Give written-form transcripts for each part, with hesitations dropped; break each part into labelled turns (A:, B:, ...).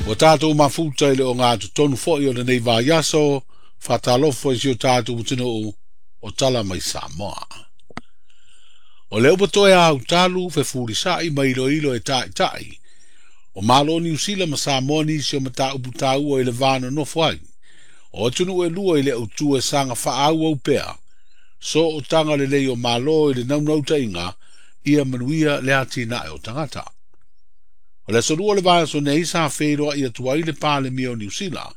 A: Ua tatou mafuta i le ogatotonu foi o lenei vaiaso, faatalofa i si o tatou atunuu o tala mai Samoa. O lea ua toe autalu fefulisa'i ma iloilo e taʻitaʻi o Malo o Niu Sila ma Samoa nisi o mataupu taua i le va nonofo ai o atunuu e lua i le autu e saga faaauau pea sootaga lelei o Malo i le naunautaiga ia manuia le atinae o tagata. O le aso lua o le vaiaso nei sa feiloai atu ai le Palemia o Niu Sila,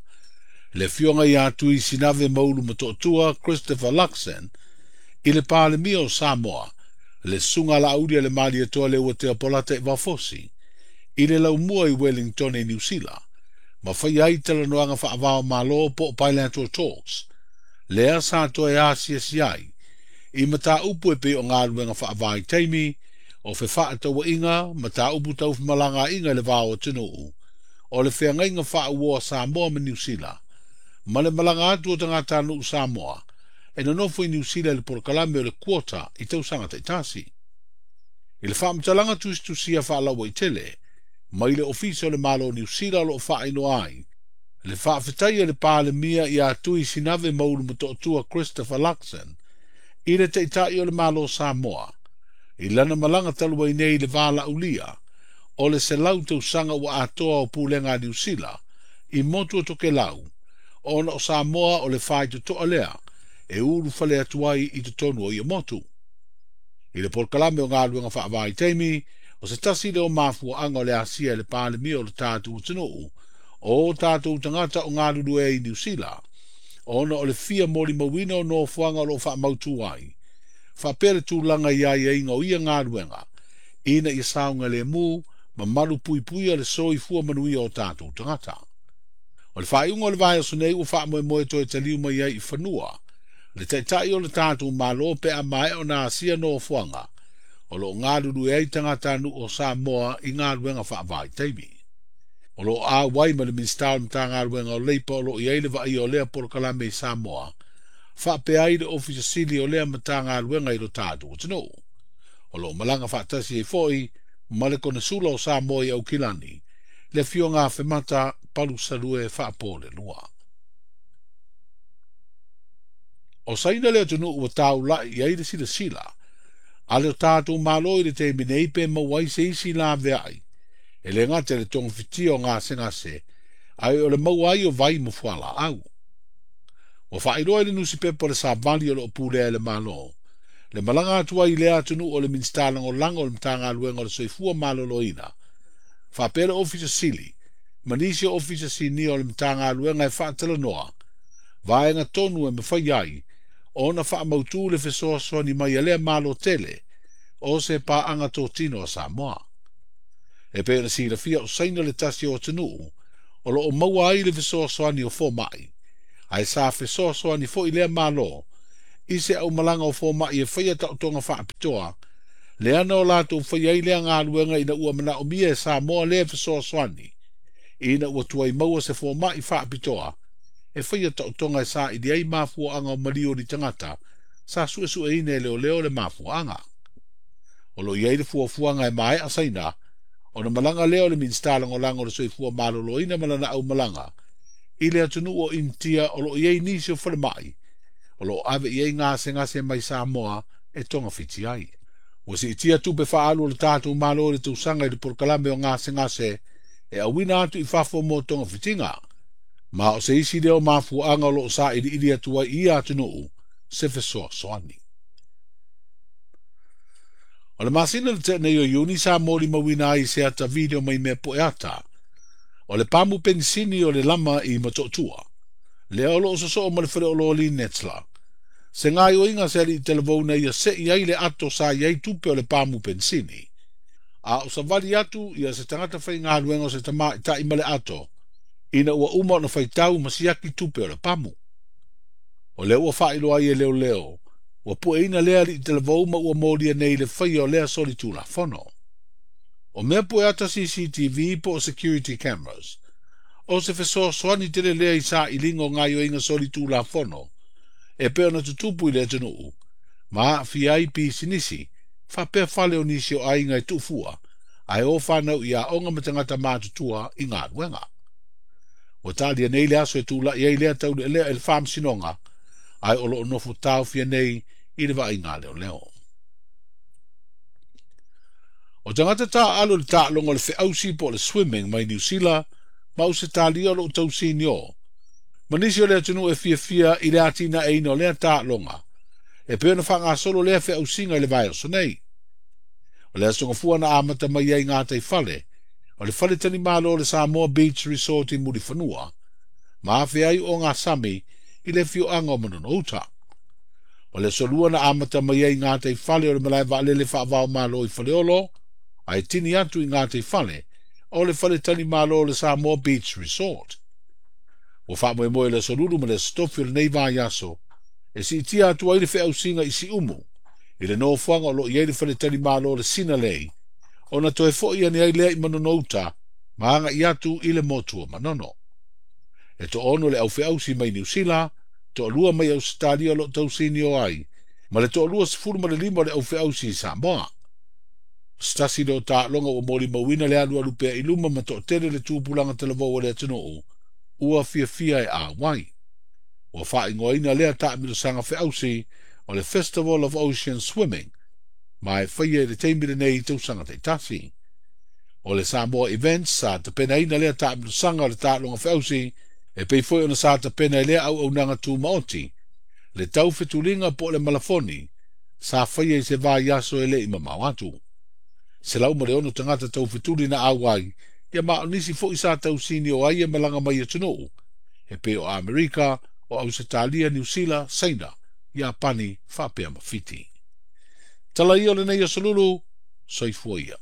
A: le afioga ia Tui Sinave Maulu Motootua Christopher Luxon, i le Palemia o Samoa, le susuga Laauli a le Malietoa Leuatea Polataivao Fosi, i le laumua i Wellington i Niu Sila, ma faia ai talanoaga faava-o-Malo po o bilateral talks, lea sa toe asiasi ai i mataupu e pei o galuega faavaitaimi, o fefaatauaiga, mataupu tau femalagaaiga i le va o atunuu, o le feagaiga faauoa Samoa ma Niu Sila, ma le malaga atu o tagatanuu Samoa e nonofo i Niu Sila i le polokalame o le quota i tausaga taitasi. I le faamatalaga tusitusia faalauaitele mai le Ofisa o le Malo o Niu Sila o lo o faailoa ai le faafetai a le Palemia ia Tui Sinave Maulu Motootua Christopher Luxon i le Taitai o le Malo o Samoa i lana malaga talu ai nei i le valaaulia o le 100 tausaga ua atoa o pulega a Niu Sila i motu o Tokelau, ona o Samoa o le faitotoa lea e ulufale atu ai i totonu o ia motu. I le polokalame o galuega faavaitaimi, o se tasi lea o mafuaaga o le asia e le Palemia o le tatou atunuu o tatou tagata o galulue ai i Niu Sila, ona o le fia molimauina o nofoaga o lo o faamautu ai, faapea le tulaga i aiaiga o ia galuega, ina ia saogalemu ma malupuipuia le soifua manuia o tatou tagata. O le faaiuga o le vaiaso nei ua faamoemoe toe taliu mai ai i fanua le Taitai o le tatou Malo pe a maea ona asia nofoaga o lo o galulue ai tagatanuu o Samoa i galuega faavaitaimi. O lo o auai ma le Minisita o le Matagaluega o Leipa o lo o i ai le vaaia o lea polokalame i Samoa, faapea ai le Ofisa Sili o lea Matagaluega i lo tatou atunuu. O lo o malaga faatasi ai foi ma le Konesula o Samoa i Aukilani, le afioga Afemata Palusalue Faapolelua. O Saina le atunuu ua taulai i ai le silasila a le tatou Malo i le taimi nei pe maua ai se isi laveai e le gata i le togafitia o gasegase ae o le maua ai o vai ma fualaau. Ua faailoa i le nusipepa o le Savali o lo o pulea e le Malo le malaga atu ai i lea atunuu o le Minisita Lagolago o le Matagaluega o le Soifua Maloloina, faapea le Ofisa Sili ma nisi o Ofisa Sinia o le Matagaluega e faatalanoa vaega tonu e mafai ai ona faamautu le fesoasoani mai a lea Malo tele o se paaga totino a Samoa. E pei ona silafia o Saina le tasi o atunuu o lo o maua ai le fesoasoani o fomai, ae sa fesoasoani foi lea Malo i se aumalaga o fomai e faia taotoga faapitoa, leana o latou faia ai lea galuega ina ua manaomia e Samoa lea fesoasoani, ina ua tuai maua se fomai faapitoa e faia taotoga e saili ai mafuaaga o maliu o ni tagata sa suesueina e leoleo le mafuaaga. O lo o i ai le fuafuaga e maea Saina, ona malaga lea o le Minisita Lagolago o le Soifua Maloloina ma lana aumalaga i le atunuu o Initia o lo o i ai nisi o falemai o lo o ave i ai gasegase mai Samoa e togafiti ai. Ua siitia tupe faaalu o le tatou Malo i le tausaga i le polokalame o gasegase e auina atu i fafo mo togafitiga, ma o se isi lea o mafuaaga o lo o sailiili atu ai i ia atunuu se fesoasoani. O le masina le tea nei o Iuni sa molimauina ai se ata video mai mea poeata o le pamu penisini o le lama i Motootua, lea o lo o sosoo ma le faleoloa Netzler. Se gaoioiga se alii talavou na ia sei ai le ato sa i ai tupe o le pamu penisini, a o savali atu ia se tagata faigaluega o se tamaitai ma le ato, ina ua uma ona faitau ma siaki tupe o le pamu. O lea ua faailoa ai e leoleo, ua pueina lea alii talavou ma ua molia nei le faia o lea solitulafono. O mea pueata CCTV po o security cameras, o se fesoasoani tele lea i sailiga o gaoioiga solitulafono e pei ona tutupu i le atunuu, ma aafia ai pisinisi, faapea fale o nisi o aiga e tuufua, ae o fanau i aoga ma tagata matutua i galuega. Ua talia nei le aso e tula'i ai lea taulealea i le Faamasinoga, ae o lo o nofo taofia nei i le vaaiga a leoleo. O tagata taaalo i le taaloga o le feausi po o le swimming mai Niu Sila ma Ausetalia o lo o tausinio, ma nisi o le atunuu e fiafia i le atinaeina o lea taaloga, e pei ona faagasolo lea feausiga i le vaiaso nei. O le Aso Gafua na amata mai ai gataifale o le faletalimalo o le Samoa Beach Resort i Mulifanua, ma afea ai ogasami i le afioaga o Manono-uta. O le Aso Lua na amata mai ai gataifale o le malae vaalele faava-o-Malo i Faleolo, ae tini atu i gataifale o le faletalimalo o le Samoa Beach Resort. Ua faamoemoe i le Aso Lulu ma le Aso Tofi o lenei vaiaso e siitia atu ai le feausiga i Siumu, i le nofoaga o lo o i ai le faletalimalo o le Sinalei, ona toe foi ane ai lea i Manono-uta ma agai atu i le motu o Manono. E toaono le au feausi mai Niu Sila, toalua mai Ausetalia o lo o tausinio ai, ma le toalua 15 o le au feausi i Samoa. O se tasi lea o taaloga ua molimauina le alualu pea i luma ma toatele le tupulaga talavou a le atunuu ua fiafia e auai. Ua faaigoaina lea taamilosaga feausi o le Festival of Ocean Swimming, ma e faia i le taimi lenei i tausaga taitasi. O le Samoa Events sa tapenaina lea taamilosaga o le taaloga feausi, e pei foi ona sa tapena i lea auaunaga tumaoti, le taufetuliga po o le malafoni, sa faia i se vaiaso e le i mamao atu. 106 tagata taufetuli na auai, ia ma o nisi foi sa tausinio ai e malaga mai atunuu, e pei o Amerika, o Ausetalia, Niu Sila, Saina, Iapani, faapea ma Fiti. Tala ia o lenei aso lulu, soifua ia.